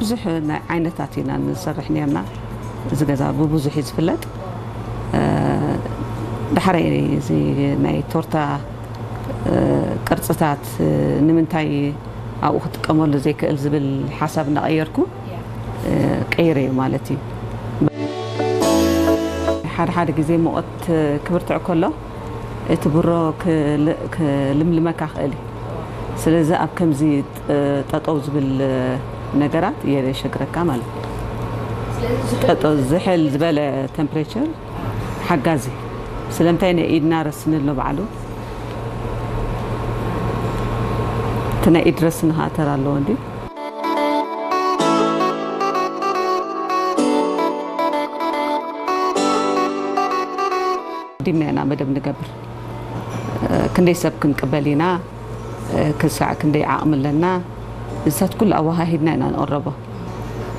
ብዙሕ ናይ ዓይነታት ኢና ንሰርሕ ነርና። እዚ ገዛ ብብዙሕ እዩ ዝፍለጥ። ዳሕራይ እዚ ናይ ቶርታ ቅርፅታት ንምንታይ ኣብኡ ክጥቀመሉ ዘይክእል ዝብል ሓሳብ እናቐየርኩ ቀይረ እዩ ማለት እዩ። ሓደ ሓደ ግዜ ሙቐት ክብርትዕ ከሎ እቲ ብሮ ክልምልመካ ክእል እዩ። ስለዚ ኣብ ከምዚ ጠጠው ዝብል ነገራት የሸግረካ ማለት እዩ። ጠጠው ዝሕል ዝበለ ቴምፕሬቸር ሓጋዚ። ስለምንታይ ናይ ኢድና ረስኒ ኣሎ ባዕሉ። እቲ ናይ ኢድ ረስኒ ከዓ ተራ ኣለዎ እንዲ። ዲምና ኢና መደብ ንገብር። ክንደይ ሰብ ክንቅበል ኢና፣ ክሳዕ ክንደይ ዓቕሚ ኣለና፣ እዚታት ኩሉ ኣወሃሂድና ኢና ንቕረቦ።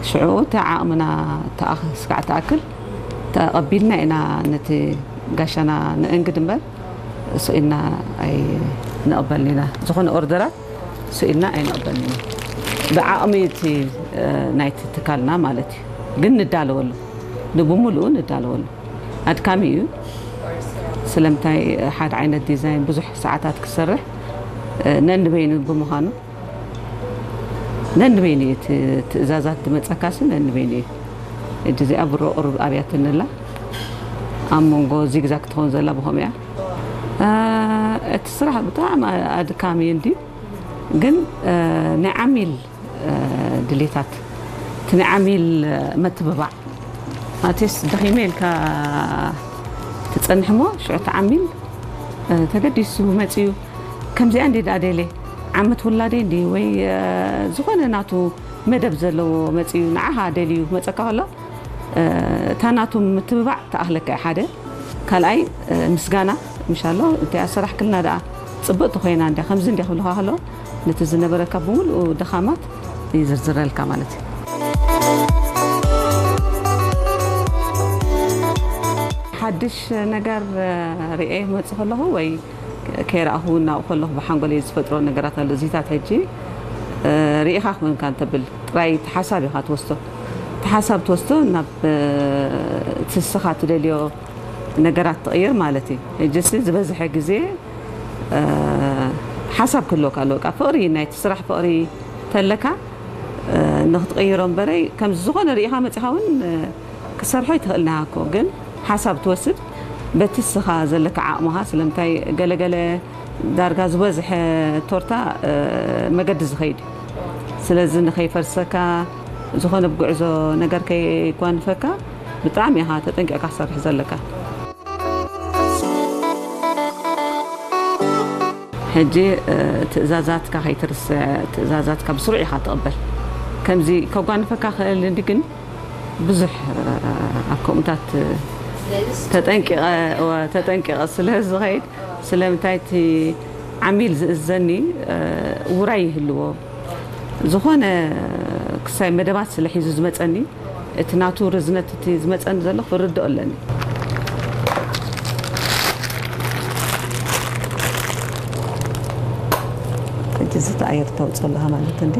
ሽዑ እቲ ዓቕምና ስጋዕ ተኣክል ተቐቢልና ኢና ነቲ ጋሻና ንእንግድ እምበር ስኢልና ኣይንቕበልን ኢና። ዝኾነ ኦርደራት ስኢልና ኣይንቕበልን ኢና። ብዓቕሚ እቲ ናይቲ ትካልና ማለት እዩ። ግን ንዳለወሉ፣ ንብምሉኡ ንዳለወሉ። ኣድካሚ እዩ። ስለምንታይ ሓደ ዓይነት ዲዛይን ብዙሕ ሰዓታት ክሰርሕ ነንበይኑ ብምዃኑ ነንበይኑ እዩ እቲ ትእዛዛት ዝመፀካሲ ነንበይኑ እዩ። እጂ እዚኣ ብሮ ቁሩብ ኣብያትንላ ኣብ መንጎ ዚግዛግ ትኸውን ዘላ ብኸምኡ እያ። እቲ ስራሕ ብጣዕሚ ኣድካሚ እዩ እንድዩ፣ ግን ናይ ዓሚል ድሌታት እቲ ናይ ዓሚል መትብባዕ ማቴስ ደኺመ ኢልካ ትጸንሕ እሞ ሽዑ እቲ ዓሚል ተገዲሱ መጺኡ ከምዚኣ እንዲ ደኣ ደልየ ዓመት ውላደይ እንዲ ወይ ዝኾነ ናቱ መደብ ዘለዎ መጺኡ ንዓኻ ደልዩ ክመጸካ ከሎ እታ ናቱ ምትብባዕ ትኣኽለካ እያ ሓደ ካልኣይ ምስጋና ምሻሎ እንታይ ኣሰራሕክልና ደኣ ጽብቕቲ ኮይና እንድያ ከምዚ እንድያ ክብልኻ ከሎ ነቲ ዝነበረካ ብምሉኡ ድኻማት ይዝርዝረልካ ማለት እዩ። ሓድሽ ነገር ርእየ ክመጽእ ከለኹ ወይ ከይረኣኹ እውን ናብኡ ከለኹ ብሓንጎለይ ዝፈጥሮ ነገራት ኣሎ። እዚታት ሕጂ ርኢኻ ክኾንካ እንተብል ጥራይ እቲ ሓሳብ ኢኻ ትወስዶ። እቲ ሓሳብ ትወስዶ ናብ እቲ ንስኻ ትደልዮ ነገራት ትቕይር ማለት እዩ። ሕጂ ሲ ዝበዝሐ ግዜ ሓሳብ ክህልወካ ኣለዎ። በቃ ፍቕሪ ናይቲ ስራሕ ፍቕሪ ተለካ ንክትቕይሮ እምበረይ ከምዚ ዝኾነ ርኢኻ መፂኻ እውን ክሰርሖ ይትኽእል ናሃኮ ግን ሓሳብ ትወስድ በቲ ስኻ ዘለካ ዓቕምኻ ስለምንታይ ገለገለ ዳርጋ ዝበዝሐ ቶርታ መገዲ ዝኸይድ እዩ። ስለዚ ንኸይፈርሰካ ዝኾነ ብጉዕዞ ነገር ከይጓንፈካ ብጣዕሚ ኢኻ ተጠንቂቕካ ክሰርሕ ዘለካ። ሕጂ ትእዛዛትካ ከይትርስዕ ትእዛዛትካ ብስሩዕ ኢኻ ትቕበል። ከምዚ ከጓንፈካ ክእል እንዲ ግን ብዙሕ ኣብ ከምኡታት ተጠንቂቐ ስለ ዝኸይድ ስለምንታይ እቲ ዓሚል ዝእዘኒ ውራይ ይህልዎ ዝኾነ ክሳይ መደባት ስለ ሒዙ ዝመፀኒ እቲ ናቱ ርዝነት እቲ ዝመፀኒ ዘሎ ክርድኦ ኣለኒ። ሕጂ ዝተኣየር ተውፅኦ ኣለኻ ማለት እንዲ